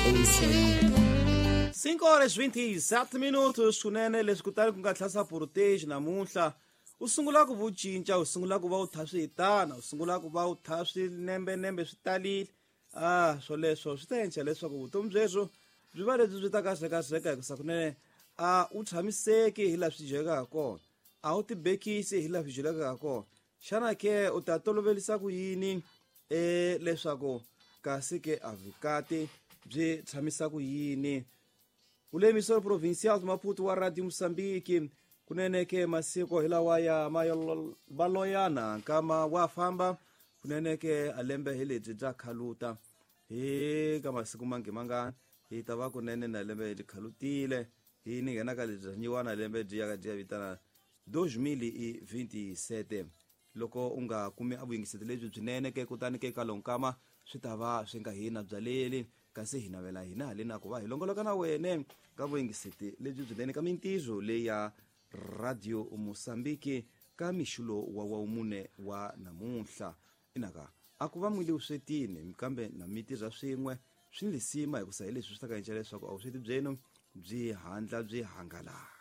É isso aí. 5 horas 27 minutos kunene leswi kutani ku nga tlhasa portage namuntlha u sungula ku vu cinca u sungula ku va u tha swi hitana u sungula ku va u tha swi nembenembe swi talile a swoleswo swi ta endla leswaku vutomi byebyo byi va lebyi byi ta kahlekahleka hikusa kunene a u tshamiseki hi laha swi dyekaka ha kona a wu tibekisi hi laha swi dyelaka ha kona xana ke u ta tolovelisa ku yini e leswaku kasi ke a vukati byi tshamisa ku yini ule emissora provincial de Maputo wa Radio Moçambique kunene ke masiko hi lawa ya maloyana nkama wa famba kunene ke a lembe hi lebyi bya khaluta hi ka masiku mangi mangani hi ta va kunene na lembe byi khalutile hi ni nghena ka lebyi nyiwana lembe byi ya byi ya vitana 2027 loko u nga kumi a vuyingiseti lebyi byinene ke kutani ke ka lonkama swi ta va swi nga hina byaleli kasi hi navela hina haleni ku va hi longoloka na wene ka vuyingiseti lebyi byinene ka mintirho leyi ya Radio Mosambiki ka mixulo wa wawumune wa namuntlha inaka a ku va mwile vuswetini kambe na mi tirha swin'we swi ni lisima hikusa hi leswi swi ta ka endla leswaku a vusweti byenu byi handla byi hangalaka.